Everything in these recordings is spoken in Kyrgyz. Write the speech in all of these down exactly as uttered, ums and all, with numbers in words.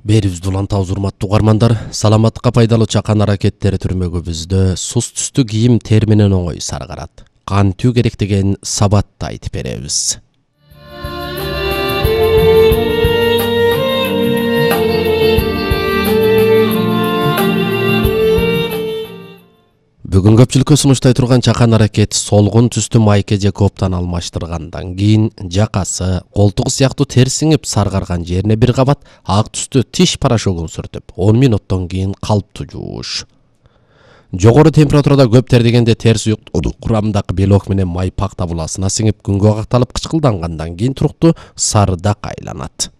Берибизди улантабыз урматтуу угармандар. Саламаттыкка пайдалуу чакан аракеттери түрмөгүбүздө сус түстүү кийим терминен оңой саргарат. Кантүү керек деген сабатты айтып беребиз. Бүгүн көпчүлүккө сунуштай турган чакан аракет солгун түстүү майке же коптан алмаштыргандан кийин жакасы, колтугу сыяктуу тер сиңип саргарган жерине бир кабат ак түстүү тиш порошогун сүртүп, он мүнөттөн кийин калыптуу жууш. Жогору температурада көп тердегенде тер суюктугу курамындагы белок менен май пакта буласына сиңип күнгө какталып кычкылдангандан кийин туруктуу сарыдак айланат.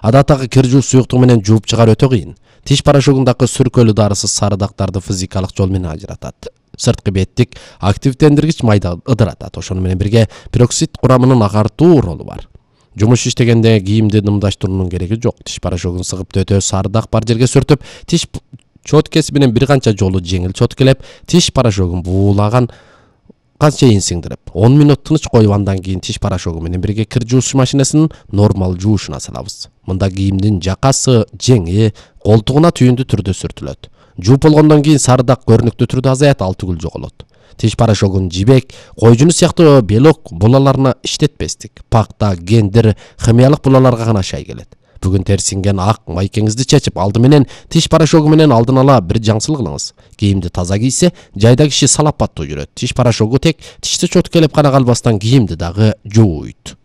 Адаттагы кир жууш суюктугу менен жууп чыгаар өтө кыйын. Тиш порошогундагы сүркөлүү дарысы сарыдактарды физикалык жол менен ажыратат. Сырткы беттик активдендиргич майда ыдыратат. Ошону менен бирге пероксид курамынын агартуу ролу бар. Жумуш иштегенде кийимди дымдаштыруунун кереги жок. Тиш порошогун сыгып төтө сарыдак бар жерге сүртүп, тиш чоткеси менен бир канча жолу жеңил чоткелеп, тиш порошогун буулаган чейин сиңдирип, он мүнөт тыныч коюп, андан кийин тиш порошогу менен бирге кир жууш машинесинин нормал жуушуна салабыз. Мында кийимдин жакасы, жеңи, колтугуна түйүндү түрдө сүртүлөт. Жууп болгондон кийин сарыдак көрүнүктүү түрдө азаят, ал түгүл жоголот. Тиш порошогун жибек, койжуну сыяктуу белок булаларына иштетпестик. Пакта, гендер, химиялык булаларга гана шай келет. Бүгүн терсинген ак майкеңизди чечип, алды менен тиш порошогу менен алдын ала бир жаңсыл кылыңыз. Кийимди таза кийсе, жайда киши салапаттуу жүрөт. Тиш порошогу тек тишти чоткелеп гана калбастан кийимди дагы жууйт.